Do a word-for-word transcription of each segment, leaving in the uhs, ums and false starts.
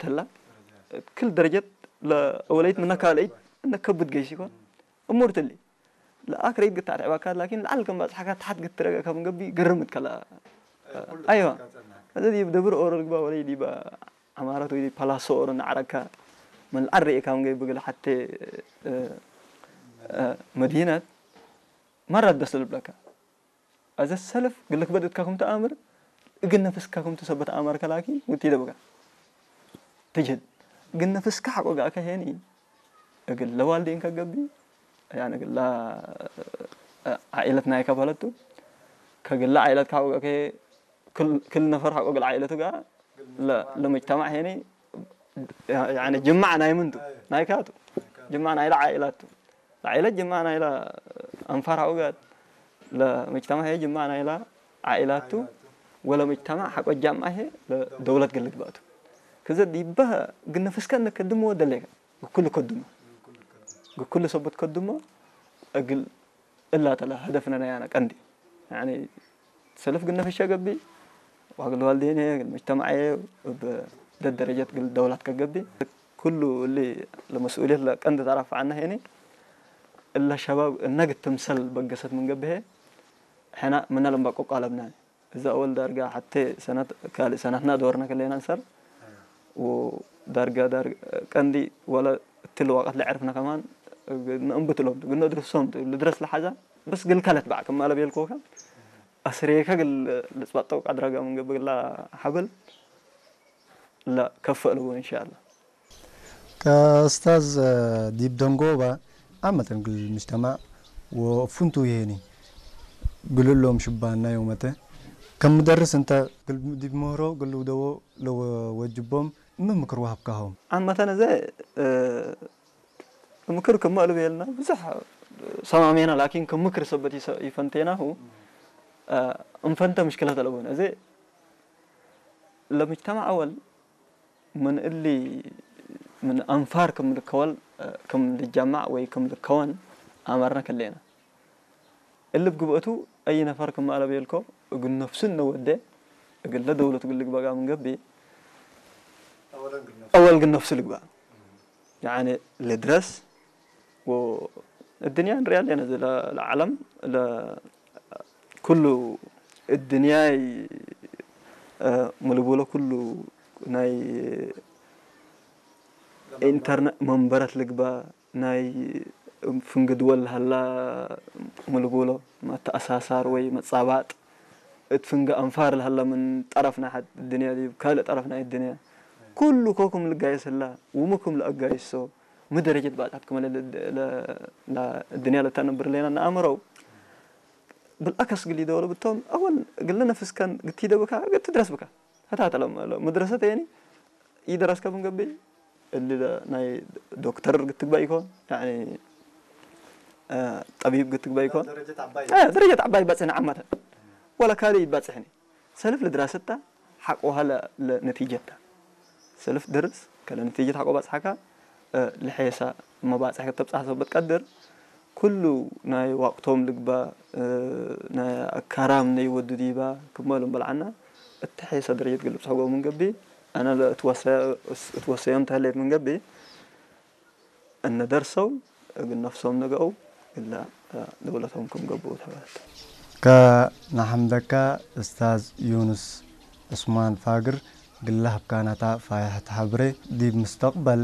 ተላ፣ ክል ደረጀት ለአወለይት ምነ ካልአይት እነ ከብድ ገይስ ኢኮን። እሙር ትሊ፣ ለአክረይት ግታ አትዕባካ፣ ላኪን ለዐል ከም ባጽሓካ ተሐት ግትረገ ከም ገብእ ግርም ትከላ። አይዋ። አዜ ዲብ ደብር ኦሮ ልግባ ወለይ ዲበ ዐማረት ወይ ዲብ ፓላሶ ኦሮ ነዐረካ፣ ምን ለዐል ርኤካ ምን ገብእ እግል ሐቴ፣ እ፣ እ፣ መዲነት መራት በስ ልብለካ። አዘ ሰልፍ ግልክ በድ እትካ ክም ተአምር፣ እግል ነፍስካ ክም ትሰበት አመርከ፣ ላኪን ውቲ ደብካ ትጅህድ። እግል ነፍስካ ሐቆ ጋእከ ሄኒ፣ እግል ለዋልዴንከ ገብእ፣ ያኒ እግል ለ-፣ ዓኢለት ናይከ በለቱ፣ ከግለ ዓኢለትከ ሐቆ ጋእከ ክል፣ ክል ነፈር ሐቆ እግል ዓኢለቱ ጋር ለ-፣ ለመጅተማዕ ሄኒ፣ ያኒ ጅማዕ ናይ ምንቱ? ናይካቱ። ጅማዕ ናይለ ዓኢላቱ። ለዓኢለት ጅማዕ ናይለ አንፋር ሐቆ ጋር፣ ለመጅተማዕ ሄ ጅማዕ ናይለ ዓኢላቱ፣ ወለመጅተማዕ ሐቆ ጃምዓ ሄ ለደውለት ግልግባቱ። ከዘ ዲበ እግል ነፍስከ እነ ከድሞ ወደሌከ፣ ግኩሉ ከድሞ፣ ግኩሉ ሰበት ከድሞ፣ እግል እላ ተለ ሀደፍነ ናይ አነ ቀንዲ። ያኒ ሰልፍ እግል ነፍሸ ገብእ፣ ወእግል ዋልዴንየ፣ እግል መጅተማዕየ፣ እብ ደደረጀት እግል ደውላት ከገብእ። ኩሉ እሊ ለመስኡልየት ለቀንዲ ተረፈዐነ ሄኒ፣ እለ ሸባብ እነ እግል ትምሰል በገሰት ምን ገብእ፣ ሕነ ምነ ለንበቆ ቃለብነ። እዘ አወል ዳርጋ ሐቴ ሰነት፣ ካልእ ሰነትነ ዶርነ ክሌነ እንሰር፣ ወዳርጋ ዳር-፣ ቀንዲ ወለ እትሊ ወቀት ለዐርፍነ ከማን፣ እግል ነእንብት እሎም ቱ፣ እግል ነድርሶም ቱ፣ ልድረስ ለሐዛ፣ በስ እግል ከለት በዕ ክም አለ ቤልኮከ፣ አስሬከ እግል ልጽበጠው ቀድረገ ምን ገብእ እግላ ሐብል ለከፍእ ልቡ እንሻአላህ። ከእስታዝ፣ ዲብ ደንጎባ ዓመተን እግል ምጅተማዕ ወፍንቱይ ሄኒ እግል እሎም ሽባና ዮመተ፣ ከም ምደርስ እንተ እግል ዲብ ምህሮ እግል ልውደዎ ለወጅቦም ምን ምክር ወሀብካሆም? ዓመተን እዘ፣ እ፣ ምክር ክመ እሉ ቤልና ብዙሕ ሰማሜና፣ ላኪን ክም ምክር ሰበት ይሰ-፣ ይፈንቴናሁ፣ እ፣ እንፈንተ ምሽክለት አለቡን። እዘ ለምጅተማዕ አወል ምን እሊ፣ ምን አንፋር ክም ልከወል፣ ክም ልጀማዕ ወይ ክም ልከወን አመርነ ክሌነ። እሊ እብ ግብአቱ አይ ነፈር ክም አለ ቤልኮ፣ እግል ነፍሱ እነ ወዴ፣ እግለ ደውለት እግል ልግበእ ምን ገብእ፣ አወል እግል ነፍሱ ልግበእ። ያኒ ልድረስ ወእድንያ እንርያ ሌነ፣ እዚ ለ-፣ ለዓለም ለ-፣ ኩሉ እድንያይ፣ እ፣ ምን ልቡሎ ኩሉ ናይ ኢንተርነ-፣ መንበረት ልግበእ፣ ናይ ፍንግ ድወል ለሀላ ምን ልቡሎ መተአሳሳር ወይ መጻባጥ፣ እት ፍንገ አንፋር ለሀለ ምን ጠረፍ ናይ ሐድ እድንያ ዲብ ካልእ ጠረፍ ናይ እድንያ፣ ኩሉ ኮኩም ልጋየስ ህላ፣ ውምኩም ለአጋይሶ፣ ሚ ደረጀት ባጽሐት ክመ ለ-፣ ለ-፣ ለእድንያ ለተአነብር ሌና ነአምረው። ብልአከስ እግል ኢደወለ ብቶም፣ አወል እግለ ነፍስከን ግቲደ ብካ፣ እግል ትድረስ ብካ። ህታ ተለም-፣ ለ-፣ መድረሰት የኒ ኢደረስከ ምን ገብእ፣ እሊ ለ-፣ ናይ ዶክተር ግትግባእ ኢኮን፣ ያኒ፣ አ፣ ጠቢብ ግትግባእ ኢኮን። ደረጀት ዐባይ። አ፣ ደረጀት ዐባይ ባጽሕኒ ዓመተን። ወለ ካልእ ይባጽሕኒ። ሰልፍ ለድራሰት ተ፣ ሐቆሃ ለ-፣ ለነቲጀት ተ። ሰልፍ ድርስ፣ ከለ ነቲጀት ሐቆ ባጽሐካ፣ እ፣ ለሔሳ መባጽሕ ከተብጽሐ ሰበት ቀድር፣ ኩሉ ናይ ዋቅቶም ልግበእ፣ እ፣ ናይ አካራም ነይ ወዱ ዲባ፣ ክመ እሎም በልዐና፣ እተ ሔሳ ደረጀት እግል ልብጽሖ ገብእ ምን ገብእ፣ አነ ለእትወሰ-፣ እትወሰዮም ተህሌት ምን ገብእ፣ እነ ደርሰው እግል ነፍሶም ነገአው፣ እለ ደውለቶም ክም ገብኡ ተበለት። ከነሐምደካ እስታዝ ዩንስ ዑስማን ፋግር፣ እግል ለሀብካናታ ፋይሐት ሐብሬ፣ ዲብ ምስተቅበል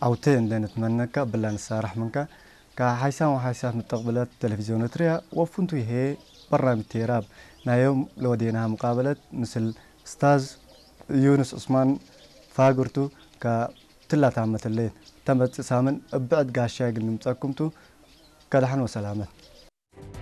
ዐውቴ እንዴ ንትመነካ እብላ ንሳረሕ ምንከ። ከሓይሳም ወሓይሳት ምስተቅብለት ቴሌቪዝዮን ኤረትርያ ወፍንቱይ ህዬ በራምጅ ቴራብ ናይ ዮም ለወዴናሃ ሙቃበለት ምስል እስታዝ ዩንስ ዑስማን ፋግር ቱ። ከ እትላ ታመት ህሌት፣ ተመጽእ ሳምን እብ ብዕድ ጋሻይ እግል ንምጸኩም ቱ። ከደሐን ወሰላመት።